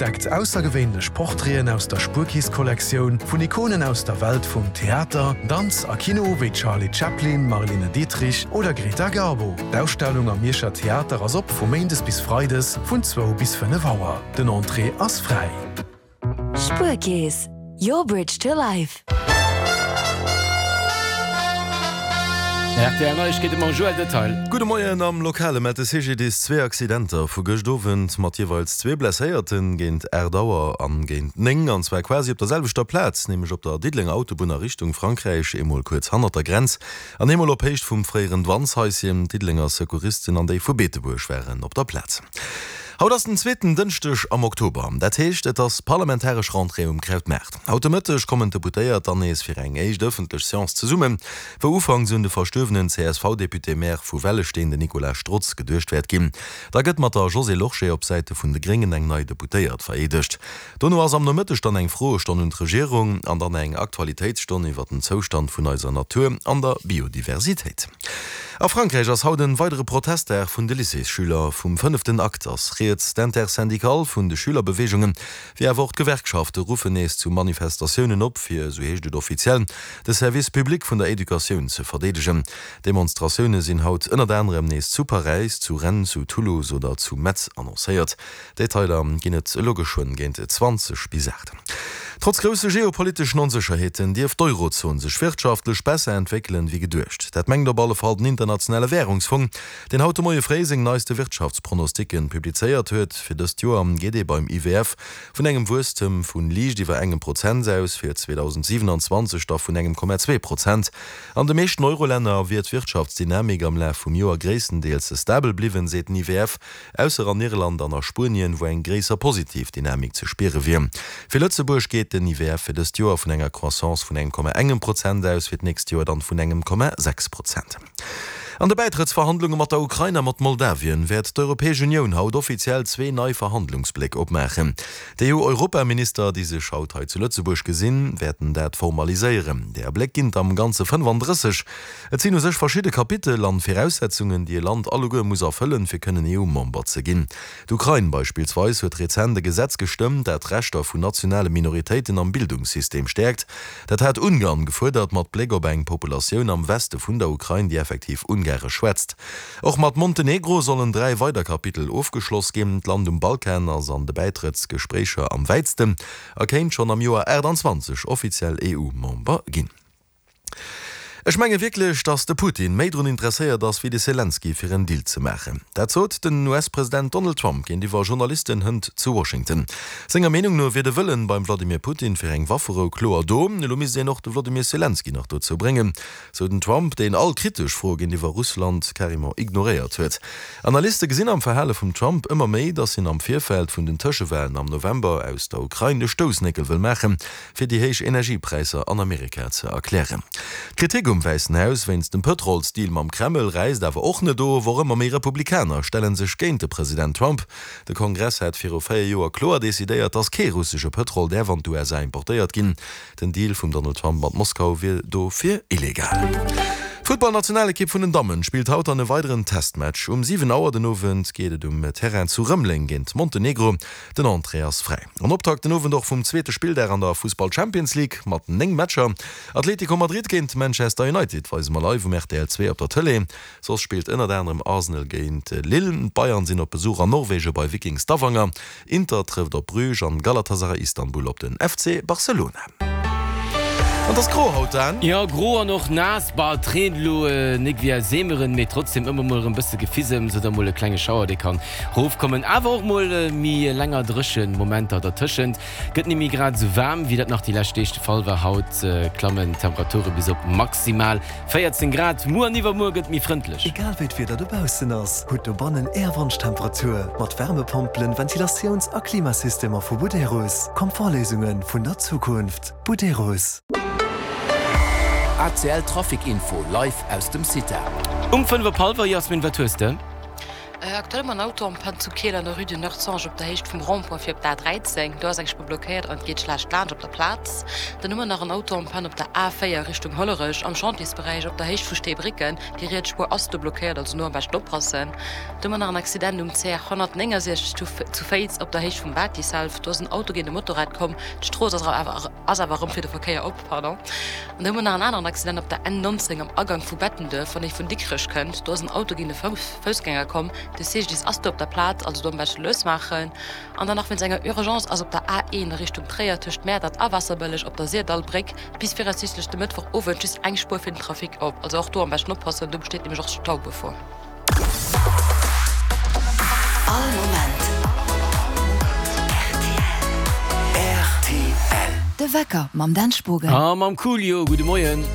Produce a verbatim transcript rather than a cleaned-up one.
Entdeckt aussergewéinlech Portraiten aus der Spuerkeess-Kollektioun vun Ikonen aus der Welt vum Theater, Danz a Kino wéi Charlie Chaplin, Marlene Dietrich oder Greta Garbo. D'Ausstellung am Mierscher Theater ass op vu méindes bis freides vun zwou bis fënnef Auer. Den Entrée ass fräi. Spuerkeess, your bridge to life. Rtl Neiegkeete mam Joël Detail. Gudde Moien, Am Lokale mellt de C G D I S zwee Accidenter vu gëscht Owend mat jeeweils zwee Blesséierten géint aacht Auer an géint néng, an zwar quasi op der selwechter Plaz, nämlech op der Diddelenger Autobunn a Richtung Frankräich, eemol kuerz hannert der Grenz an eemol op Héicht vum fréieren Douaneshaischen. D'Diddelenger Secouristen an déi vu Beetebuerg waren op der Plaz. Haut ass den zweeten Dënschdeg am Oktober, dat heescht et ass parlamentaresch Rentrée um Krautmaart. Haut de Mëtteg kommen d'Deputéiert dann nees fir eng éischt ëffentlech Seance zesummen, wou ufanks un de verstuerwenen C S V-Député-Maire vu Wellesteen, den Nicolas Strotz, geduecht wäert ginn. Da gëtt mat der Josée Lorsché op Säite vun de Gréngen eng nei Deputéiert vereedegt. Dono ass am Nomëtteg dann eng Froestonn un d'Regierung an dann eng Aktualitéitsstonn iwwer den Zoustand vun eiser Natur an der Biodiversitéit. A Frankräich ass haut en weidere Protestdag vun de Lycéesschüler. Vum fënneften Akt ass rieds. D'Intersyndicale vun de Schülerbeweegungen, wéi awer och d'Gewerkschafte ruffen nees zu Manifestatiounen op, fir, esou heescht et offiziell, de Service public vun der Educatioun ze verdeedegen. Demonstratioune sinn haut ënnert anerem nees zu Paräis, zu Rennes, zu Toulouse oder zu Metz annoncéiert. Detailer ginn et elo geschwënn géint zwanzeg bis aacht. Trotz grousse geopoliteschen Onsécherheeten dierft d'Eurozon sech wirtschaftlech besser entwéckelen, wéi geduecht. Dat mengt op alle Fall den Internationale Wärungsfong, deen haut de Moie fréi seng neiste Wirtschaftspronosticken publizéiert huet. Fir dëst Joer geet ee beim I W F vun engem Wuesstem vu liicht iwwer engem Prozent aus, fir zweedausendsiwenanzwanzeg da vun engem Komma zwee Prozent. An de meeschten Eurolänner wier d'Wirtschaftsdynamik am Laf vum Joer gréisstendeels stabel bliwwen, seet den I W F, ausser an Irland an a Spuenien, wou eng gréisser positiv Dynamik ze spiere wier. Fir Lëtzebuerg geet den I W F fir dëst Joer vun enger Croissance vun engem Komma engem Prozent aus, fir d'nächst Joer dann vun engem Komma sechs Prozent. An de Bäitrëttsverhandlunge mat der Ukrain a mat Moldawien wäert d'Europäesch Unioun haut offiziell zwee nei Verhandlungsbléck opmaachen. D'E U-Europaminister, déi sech haut hei zu Lëtzebuerg gesinn, wäerten dat formaliséieren. Där Bléck ginn et am Ganze fënnefandrësseg. Et sinn u sech verschidde Kapitel an Viraussetzungen, déi e Land alleguer muss erfëllen, fir kënnen E U-Member ze ginn. D'Ukrain beispillsweis huet rezent e Gesetz gestëmmt, dat d'Rechter vun nationale Minoritéiten am Bildungssystem stäerkt. Dat hat Ungarn gefuerdert, mat Bléck op eng Populatioun am Weste vun der Ukrain, déi effektiv Ungaresch schwätzt. Och mat Montenegro sollen dräi weider Kapitel ofgeschloss ginn. D'Land um Balkan ass an de Bäitrëttsgespréicher am wäitsten a kéint schonn am Joer achtanzwanzeg offiziell E U-Member ginn. Ech menge wierklech, datt de Putin méi drun interesséiert ass wéi de Selenskyj fir en Deal ze maachen. Dat sot den U S-President Donald Trump géintiwwer Journalisten hënt zu Washington. Senger Meenung no wier de Wëllen beim Vladimir Putin fir eng Wafferou kloer do, elo misst een och de Vladimir Selenskyj nach dozou bréngen, sou den Trump, deen all kritesch Froe géintiwwer Russland carrément ignoréiert huet. Analyste gesinn am Verhale vum Trump ëmmer méi, datt hien am Virfeld vun den Tëschewalen am November aus der Ukrain de Stoussnéckel wëll maachen, fir déi héich Energiepräisser an Amerika ze erklären. D'Kritik um Wäissen Haus wéinst dem Pëtrolsdeal mam Kreml räisst awer och net of. Och ëmmer méi Republikaner stelle sech géint de President Trump. De Kongress hat viru véier Joer kloer decidéiert, datt kee russesche Pëtrol däerf an d'U S A importéiert ginn. Den Deal vum Donald Trump mat Moskau wier dofir illegal. D'Futtballnationalekipp vun den Dammen spillt haut an e weideren Testmatch. Um siwen Auer den Owend geet et um Terrain zu Rëmeleng géint Montenegro. Den Entrée ass fräi. An Optakt den Owend och vum zweete Spilldag an der Fussball Champions League mat néng Matcher. Atlético Madrid géint Manchester United weise mer live um R T L zwee op der Tëlee. Soss spillt ënnert anerem Arsenal géint Lille. D'Bayern sinn op Besuch an Norwege bei Viking Stavanger. Inter trëfft op Bruges an Galatasaray Istanbul op den F C Barcelona. An et ass gro haut, Dan. Jo, gro an och naass. Bah, et reent elo nik wéi aus Eemeren, mee trotzdem ëmmer mol erëm bësse Gefissems oder mol e klenge Schauer, dee kann rofkommen. Awer och mol méi länger dréchen Momenter dertëschent. Gëtt ni méi grad esou waarm, wéi dat nach déi lescht Deeg de Fall war. Haut klammen d'Temperature bis op maximal véierzéng Grad. Muer an iwwermuer gëtt méi frëndlech. Egal wéi d'Wieder dobaussen ass, hutt dobannen Är Wonschtemperatur mat Wärmepompelen, Ventilatiouns a Klimasystemer vu Buderus. Komfortléisunge vun der Zukunft. Buderus. A C L Trafic Info live aus dem CITA. Um fënnef op hallwer, Jasmin, wat hues de? Aktuell hu mer en Auto en panne zu Keel an der Rue du Nord-Sange op der Héicht vum Rond-point fir op d'A dräizéng. Do ass eng Spuer blockéiert an et geet schlecht laanscht op der Plaz. Dann hu mer nach en Auto en panne op der A véier Richtung Hollerech am Chantiersberäich op der Héicht vu Steebrécken. Déi riets Spuer ass do blockéiert, also no am beschten oppassen. Do hu mer nach en Accident um C R honnertnéngensechzeg zu Féiz op der Héicht vum Batiself. Do ass en Auto géint e Motorrad komm. D'Strooss ass awer ass awer erëm fir de Verkéier op. Pardon. An da hu mer nach en aneren Accident op der N nonzéng am Agank vu Bettenduerf, wann ee vun Dikrech kënnt. Do ass en Auto géint e Foussgänger komm. De C G D I S ass do op der Plaz, also do am beschte lues maachen. An dann nach wéinst enger Urgence ass op der A een a Richtung Tréier tëscht Mäertert a Waasserbëlleg op der Syrdallbréck bis viraussiichtlech de Mëttwochowend just eng Spuer fir den Trafic op. Also och do am beschten oppassen, do besteet nämlech och Staugefor. All Moment rtl. De Wecker mam Dan Spogen. A mam Coolio. Gudde Moien.